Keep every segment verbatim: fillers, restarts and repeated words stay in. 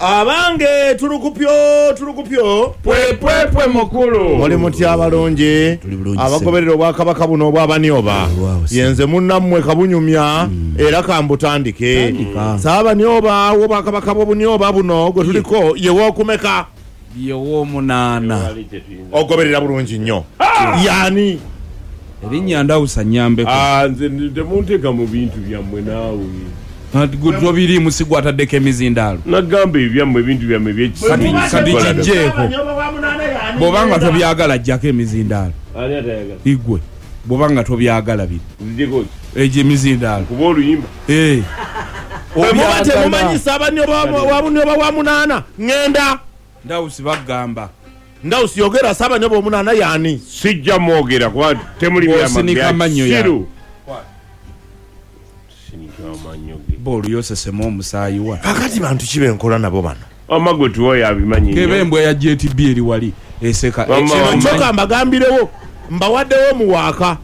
Abange tulukupyo tulukupyo pwe pwe mukulu. Muli mutya abalungi abagoberera obwakabaka buno obw'Abanioba? Yenze munnammwe Kabunyumya era kambutandike. Saabanioba w'obwakabaka bw'Obunioba buno gwe tuliko ye w'okumeka? Ye w'omunaana. Ogoberera bulungi nnyo. Yani erinnya Ndawusa nnyambeko. Ah, nze temunteeka mu bintu byammwe naawe. Gwe musigwa ataddeko emizindaalo. Nagamba ebyammwe ebintu byammwe ebyekisiru. Kati kijjeeko. Bw'obanga tobyagala jjako emizindaalo. Ani atayagala? Igwe. Bw'obanga tobyagala biri. Nzijjeko ki? Egyo emizindaalo. Kuba oluyimba. Eh. Bwe muba temumanyi Saabanioba wa Bunioba wa munaana ŋŋenda. Ndawusi bagamba. Ndawusi yogera Saabanioba omunaana yani? Sijja mwogera kuba temuli Bw'osinika amannyo ya. byamasiru. Sinika amannyo ge. Boolu yosesemu omusaayi wa. Kakati bantu ki benkola nabo bano? Wamma gwe tuwa abimanyi nnyo. Kebe embwa ya J T B eri wali eseka. Wamma Kino omanyi. kyokka mbagambirewo mbawaddewo muwaaka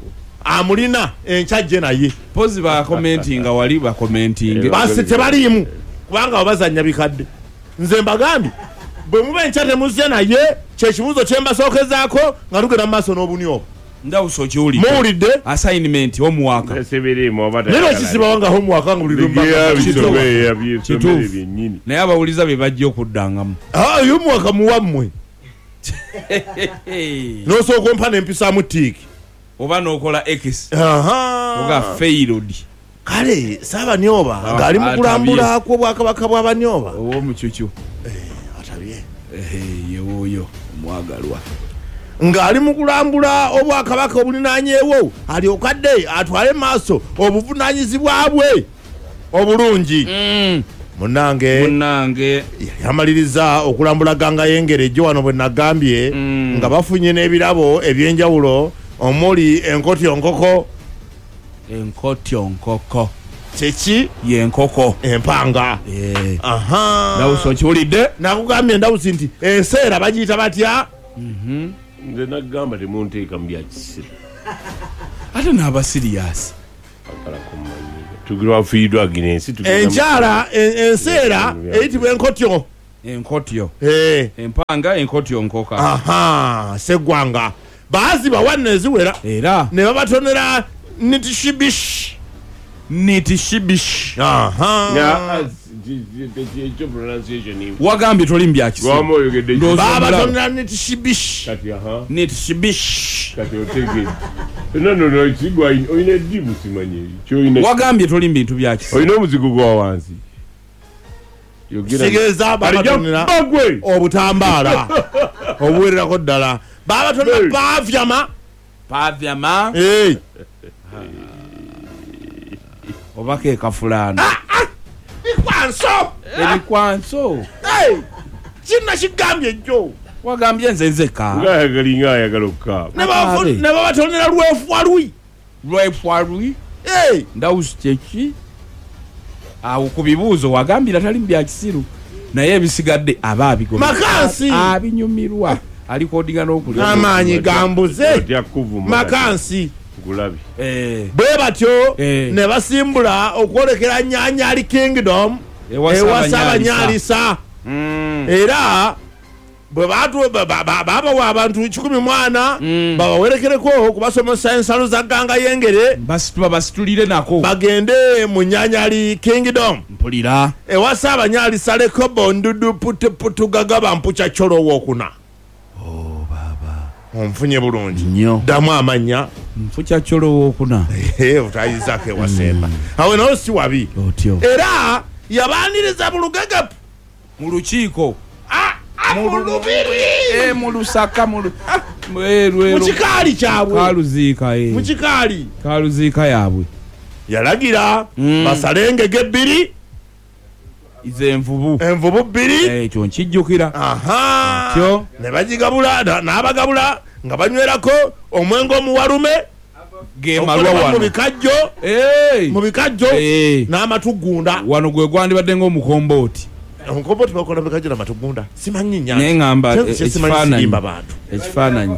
amulina enkya jje naye. Pozi bakomentinga wali bakomentinge. Basi tebaliimu kubanga babazannya bikadde. Nze mbagambye bwe muba enkya temuzze naye kyekibuuzo kye mbasookezaako nga tugenda mu maaso n'Obunioba. Ndawusa okiwulidde. Muwulidde? Assignment omuwaaka. Eseberemu oba Naye lwaki sibawa nga homework nga buli lwe Bigeya mbaga? bisome, yabyesomere Kituufu. byennyini. Naye abawuliza be bajja okuddangamu. Ah, homework muwammwe. N'osooka ompa n'empisaamu tick. Oba n'okola X. Aha. Oga failed. Kale Saabanioba Ah, ng'ali mu atabye. kulambula kw'obwakabaka bw'Abanioba. Ow'omucucu. Atabye. Ehe, ye wuuyo omwagalwa. Ng'ali mu kulambula obwakabaka obulinaanyeewo alyoke adde atwale maaso obuvunaanyizibwa bwe obulungi. Munnange Munnange yamaliriza okulambula ganga y'engere ejjo wano bwe nagambye Mm. nga bafunye n'ebirabo ebyenjawulo omuli enkotyo nkoko. Enkotyo nkoko. Kyeki? Y'enkoko. Empanga. Eh. Aha. Ndawusa okiwulidde? Nakugambye Ndawusi nti enseera bagiyita batya? Nze nagamba temunteeka mu bya kisiru. Ate n'aba serious. Akala kummanyi. Tugira wafiiriddwa Agnes, tugenda mu- Enkyala en- enseera eyitibwa enkotyo. Enkotyo. Eh. Empanga enkotyo nkoka. Aha, seggwanga baazibawa nno eziwera Era ne babatonera nitishibish. Nitishibish. Aha. Nga, ah, si- si- si- ekyo pronunciation imwe. Wagambye toli mu bya kisiru. Lwama oyogedde ki? Ndowooza Babatonera nitishibish. Kati aha. Nitishibish. Kati otegedde. No, no, no, kigwa olina eddibu simanyi. Ky'olina- Wagambye toli mu bintu bya kisiru. Olina omuzigo gwa wansi. Yogera- Kitegeeza babatonera Alijja bagwe. Obutambaala obuwererako ddala babatonera Hey. pavyama. Pavyama Hey. oba ke kafulaano. Bikwanso. Ebikwanso. Hey. Kino kigambye jjo. Wagambye nze nzeka. Ng'ayagala ng'ayagala okukaaba. Ne bafu- ne babatonera lwefwalwi. Lwefwalwi. Hey. Ndawusi kyeki? Awo ku bibuuzo wagambira tali mu bya kisiru. Naye ebisigadde aba abigoma. Makansi. Abinyumirwa. Alikodinga n'okulya. Amaanyi gambuze. Otya kuvuma. Makansi. Nkulabe. Eh. Bwe batyo Eh. ne basimbula okwolekera Nyanyali Kingdom Ewa ewa Ssaabanyalisa. Ssaabanyalisa. Mm. Era bwe batu ba- ba- ba- babawa abantu kikumi mwana Mm. babawerekereko okubasomesa ensalo za ganga y'engere Basitula basitulire nako. Bagende mu Nyanyali Kingdom Mpulira. ewa Ssaabanyalisa Lekobo Ndudu Putuputu Gagaba Mpucha Cholo wokuna. Oh baba. Onfunye bulungi? Nnyo. Ddamu amannya. Nfucha Cholo wokuna. Otayizako ewasemba awe nawo si wabi. Otyo. Era yabaaniriza mu lugegepu. Mu lukiiko. Mu lubiri. Eh, mu lusaka mu lu- eh, lwe- Mu kikaali kyabwe. Kaluziika eh. Mu kikaali. Kaluziika yaabwe. Yalagira Mm. basale engege ebbiri. Ize envubu. Envubu bbiri. Eh, ekyo nkijjukira. Aha. Otyo. Ne bagigabula na- n'abagabula nga banywerako omwenge omuwalume Ge malwa okolebwa mu wano. bikajjo. Eh. Mu bikajjo Eh. n'amatugunda. Wano gwe gwandibadde ng'omukombooti. Omukombooti bakola bikajjo n'amatugunda, simanyi nya. Naye ŋŋamba Kye- e- kye simanyi ekifaananyi. sirimba bantu. Ekifaananyi.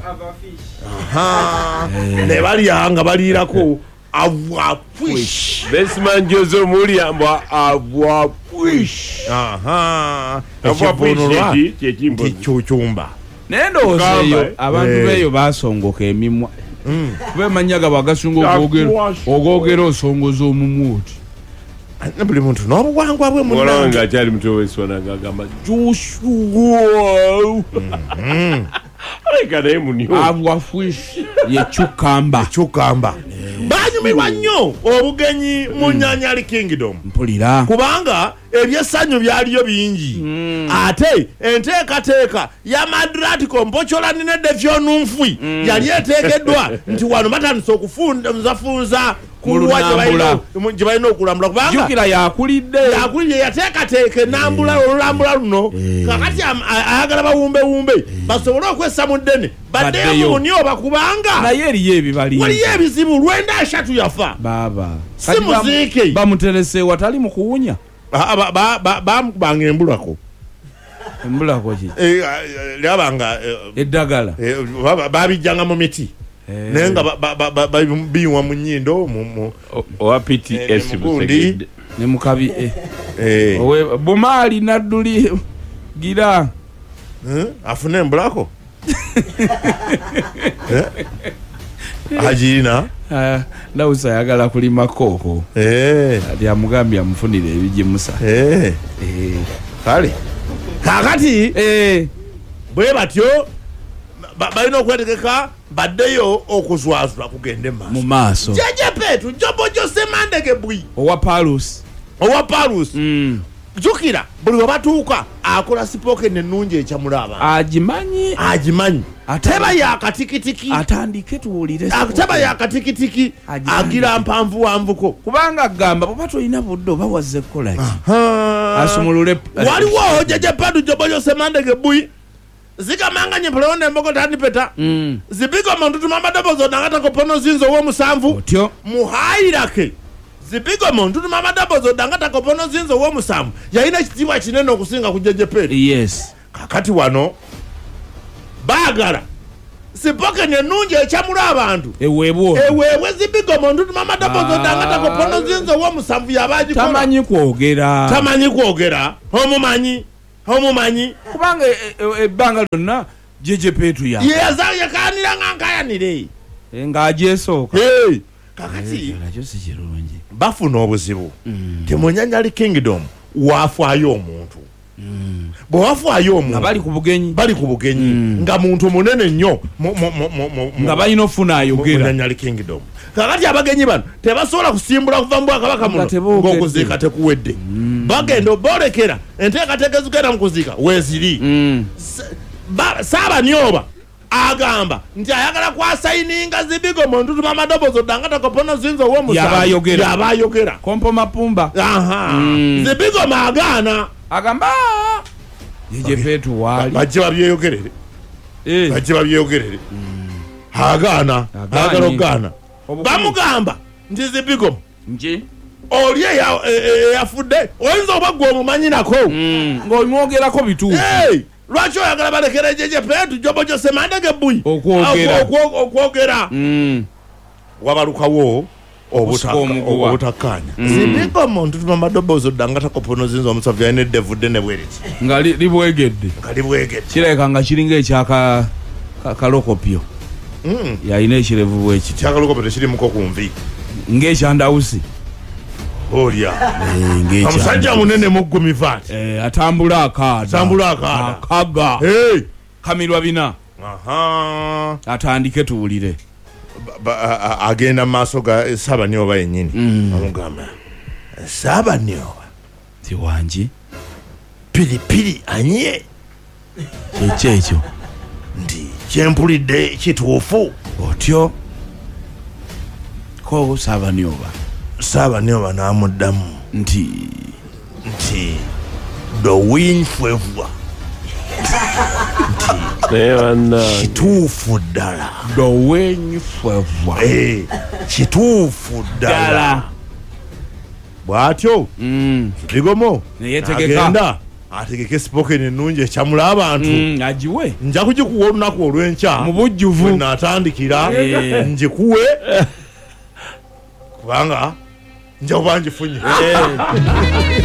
Aha. Eh. Ne balya nga baliirako. Avwapwish. Besman Jose Mulia avwapwish. Aha. Avwapwish kyekimbo. Kichumba. Naye ndowooza eyo abantu beeyo basongoka emimwa. Kuba emanya gabwe agasinga okwogera ogwogera osongoza omumwa oti. Buli muntu n'obuwangwa bwe Muwala wange munnange. akyali muto w'eswana ng'agamba Joshua. Aleka naye munyo. Avwapwish ye cucumber. Cucumber. Banyumirwa nnyo obugenyi mu Nyanyali Kingdom. Mpulira. Kubanga ebyessanyu byaliyo bingi. Ate enteekateeka ya Madratico Mpochola ne Defyonunfwi yali eteekeddwa nti wano batandise okufunzafunza kuwa gye balina gye balina okulambula kubanga Jjukira yakulidde. Yakulidde yateekateeka enambula olulambula luno kakati ayagala bawumbewumbe basobole okwessa mu ddene baddeyo mu Bunyoba kubanga naye eriyo ebibali. Waliyo ebizibu lwenda ashatu yafa. Baaba. Si muziike. Bamuterese watali mu kuwunya. Bamukubanga embulako. Embulako ki? Lyabanga eddagala. Babijjanga mu miti. Naye nga binywa mu nnyindo owa P T S Busegedde. Ne mukabi. Owe Bumaali Nadduli gira. Afune embulako? Agirina? Ndawusa ayagala kulima kooko. Ati amugambye amufunire ebigimusa. Kale. Kaakati bwe batyo balina okwetegeka baddeyo okuzwazula kugende mu maaso. Jeje Petu Jobo Jose Mandege Bwi owa Palus. Owa Palus. Jjukira buli we batuuka akola spoken ennungi ekyamula abantu. Agimanyi. Agimanyi. Teba yakatikitiki. Atandike tuwulire. Teba yakatikitiki. Agira mpanvu wanvuko. Kubanga agamba bw'oba tolina budde oba wazze kukola ki? Asumulule. Waliwo Jeje Petu Jobo Jose Mandege Bwi. Zikamanganye mpolonde embogo tandipeta. Zibigo muntu mamadobozo nangata kopono zinzo wo musanvu. Otyo. Muhairake. Zibigo muntu mamadobozo dangata kopono zinzo wo musanvu. Yalina ekitiibwa kinene okusinga ku Jeje Petu. Yes. Kakati wano baagala sipokeni ennungi ekyamula abantu. Eweebwa. Eweebwe zibigo muntu mamadobozo dangata kopono zinzo wo musanvu yabagikola. Tamanyi kwogera. Tamanyi kwogera. Omumanyi. Omumanyi. Kubanga ebbanga lyonna Jeje Petu ya. Ye yakanira nga nkayanire. Ng'agyesooka. Hey. Kakati nakyo si kirungi. Bafuna obuzibu. Temunyanyali Kingdom wafaayo omuntu. Bwe wafaayo omuntu. Nga bali ku bugenyi. Bali ku bugenyi. Nga muntu munene nnyo nga balina ofuna ayogera. Munyanyali Kingdom. Kakati abagenyi bano tebasobola kusimbula kuva mu bwakabaka muno ng'okuziika tekuwedde. Bagenda oboolekera enteekateeka ezigenda mu kuziika weeziri. Saabanyoba agamba nti ayagala kwasayininga zibigo muntu mamadobozo dangata kopono zinzo wo musanvu. Yabayogera. Yabayogera. Kompo mapumba. Aha. Zibigo magana. Agamba Jeje Petu wali. Bajje babyeyogerere. Bajje babyeyogerere. Agaana. Agala okugaana. Bamugamba nti zibigo. Nji. Oli eyafudde oyinza oba gwe omumanyi nako. Ng'omwogerako bituufu. Lwaki oyagala balekere Jeje Petu Jobo Jose Mandege Bwi okwogera. Okwogera. Wabalukawo obutakkaanya. Zibigo muntu mamadobozo dangata kopono zinzo omusanvu yalina eddevu ddene bwe riti. Nga libwegedde. Nga libwegedde. Kirabika nga kiringa ekyaka kalokopyo. Yalina ekirevu bwe kiti. Kyakalokopyo tekirimuko ku nvi. Ng'ekyandawusi. Olya. Omusajja munene muggumivu ati. Atambula akaada. Atambula akaada. Akaga. Kamirwa bina. Aha. Atandike tuwulire. Agenda mu maaso ga Saabanyoba yennyini. Amugamba Saabanyoba. Ti wangi. Piripiri anye. Kyekyo ekyo. Nti kyempulidde kituufu. Otyo. Ko Saabanyoba. Saabanyoba n'amuddamu nti nti dowinfwevwa. Kituufu ddala. Dowinfwevwa. Kituufu ddala. Bw'atyo Zibigomo agenda ategeke spoken ennungi ekyamula abantu. Agiwe. Nja kugikuwa olunaku olw'enkya mu bujjuvu. Bwe naatandikira ngikuwe. Kubanga nja kuba ngifunye.